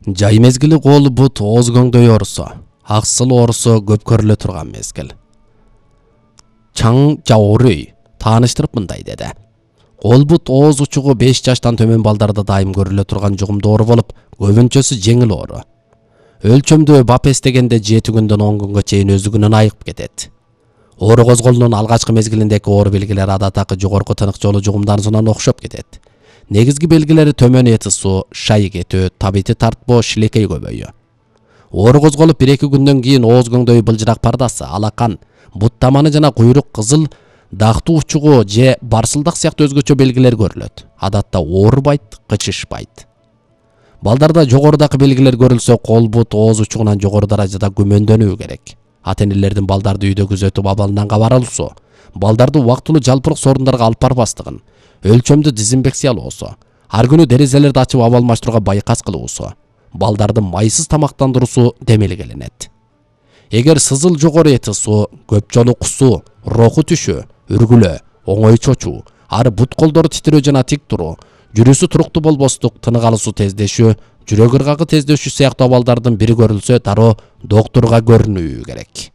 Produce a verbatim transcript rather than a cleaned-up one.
Жай мезгили кол бут ооз көңдөй оорусу, аксыл оорусу көп көрүлө турган мезгил. Чаң Жаорүй тааныштырып мындай деди. Кол бут ооз учугу беш жаштан төмөн балдарда дайым көрүлө турган жугумдуу оору болуп, көбүнчөсү жеңил оору. Өлчөмдө бап эстегенде жети күндөн он күнгө чейин өзүгүнөн айыгып кетет. Оору козголуунун алгачкы мезгилиндеги оору белгилери адаттагы жогорку тынык жолу жугумдарынан окшоп кетет. Негизги белгилери төмөн эти суу, шай кетүү, табити тартпоо, шилекей көбөйүү. Оору козголуп бир эки күндөн кийин ооз көңдөй былжырак пардасы, алакан, бут таманы жана куйрук кызыл, дактуу учугу же барсылдак сыяктуу өзгөчө белгилер көрүлөт. Адатта оорубайт, кычышпайт. Балдарда жогорудагы белгилер көрүлсө, кол бут ооз учугунан жогору даражада күмөндөнүү керек. Ата-энелердин балдарды үйдө күзөтүп абалынан кабар алуусу, балдарды убактылуу жалпырык сорундарга алып барбастыгын, өлчөмдү дезинфекциялоосу, ар күнү терезелерди ачып аба алмаштырууга байкас кылуусу, балдарды майсыз тамактандыруусу демелгелинет. Эгер сызыл жогору эти суу, көп жолу кусуу, роху түшүү, үргүлөө, оңой чочуу, ары бут колдору титирөө жана тик туруу, жүрүүсү туруктуу болбостук, тынык алуусу тездешүү, жүрөк ыргагы тездешүү сыяктуу абалдардын бири көрүлсө, дароо доктурга көрүнүү керек.